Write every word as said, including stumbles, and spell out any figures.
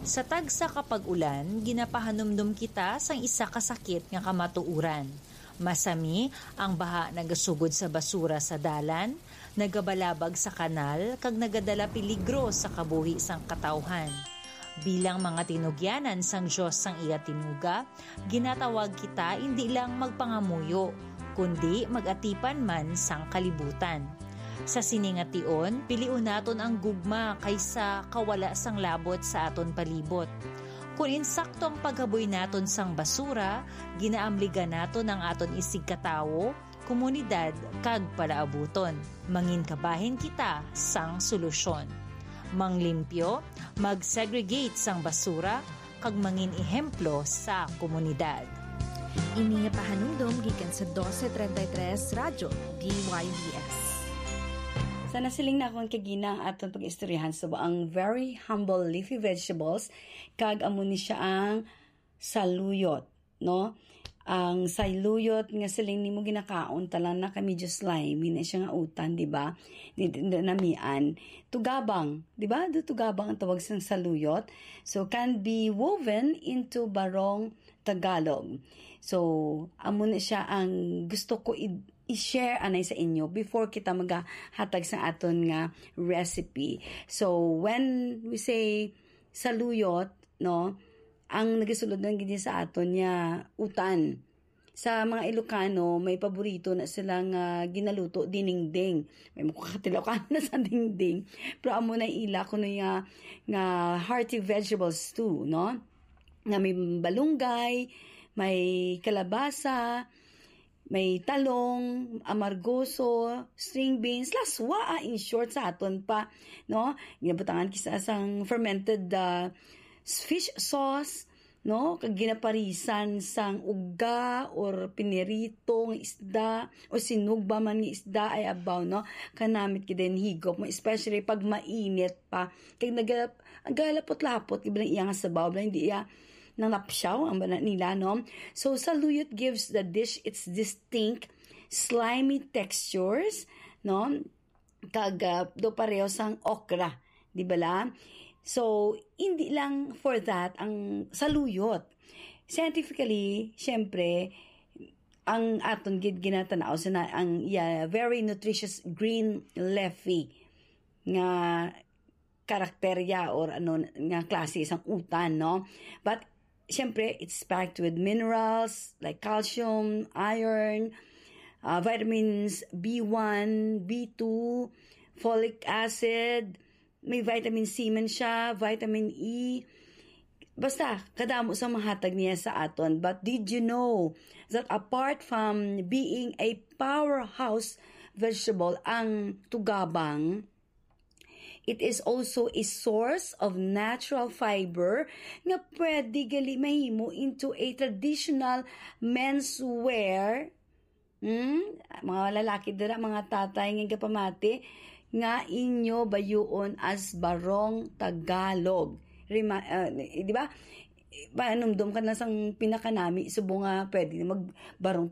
Sa tagsa ka pag-ulan, ginapahanumdom kita sang isa ka sakit nga kamatuoran. Masami, ang baha nagasugod sa basura sa dalan, nagabalabag sa kanal, kag nagadala peligro sa kabuhi sang katawhan. Bilang mga tinugyanan sang Dios sang iya tinuga, ginatawag kita indi lang magpangamuyo, kundi mag-atipan man sang kalibutan. Sa sini nga tion, pilion naton ang gugma kaysa kawala sang labot sa aton palibot. Kon insakto ang paghaboy naton sang basura, ginaamligan naton ang aton isigkatawo, komunidad, kag palaabuton. Mangin kabahin kita sang solusyon. Manglimpyo, mag-segregate sang basura, kag mangin ehemplo sa komunidad. Ini nga pahanumdom gikan sa doce treinta y tres Radyo D Y B S. Sa nasiling na akong kagina ang aton pag-istoryahan sa ang very humble leafy vegetables, kag amo ni siya ang saluyot, no? Ang saluyot nga siling nimo ginakaon, talang na kami just slimy na siya nga utan, di ba? Di, di, di namian. Tugabang, di ba? Do tugabang ang tawag sang saluyot. So, can be woven into barong Tagalog. So, amo na siya ang gusto ko i- i-share anay sa inyo before kita magahatag sa aton nga recipe. So, when we say saluyot, no, ang nagasulod lang gid sa aton niya utan. Sa mga Ilocano, may paborito na sila nga ginaluto, dinengdeng. May makakatilaw ka na sa dingding. Pero amo na ila kuno nga, nga hearty vegetable stew, no? Nga may balunggay, may kalabasa, may talong, amargoso, string beans, laswa, ah, in short, sa aton pa, no? Ginabutangan kisa sang fermented, ah, fish sauce, no? Kag ginaparisan sang uga or pinirito nga isda or sinugba man nga isda, ay abaw, no? Kanamit gid ang higop mo, especially pag mainit pa. Kag naga-, nagalapot-lapot, gid lang iya nga sabaw, lang hindi iya nalapsyaw ang bana nila, no? So, saluyot gives the dish its distinct slimy textures, no? Kag, ah, do pareho sang okra, di ba la? So, hindi lang for that ang saluyot. Scientifically, syempre, ang aton gid ginatanaw sa na, ang, yeah, very nutritious green leafy nga karakterya or ano nga klase sang utan, no? But, syempre, it's packed with minerals like calcium, iron, uh, vitamins B one, B two, folic acid, may vitamin C man siya, vitamin E. Basta, kadamo sa mahatag niya sa aton. But did you know that apart from being a powerhouse vegetable, ang tugabang, it is also a source of natural fiber nga pwede gali mahimo into a traditional menswear. Hmm? Mga lalaki dira, mga tatay nga gapamati, nga inyo bayuon as barong Tagalog. Rima-, ah, di ba? Panumdom ka na sang pinakanami, subong nga pwede na magbarong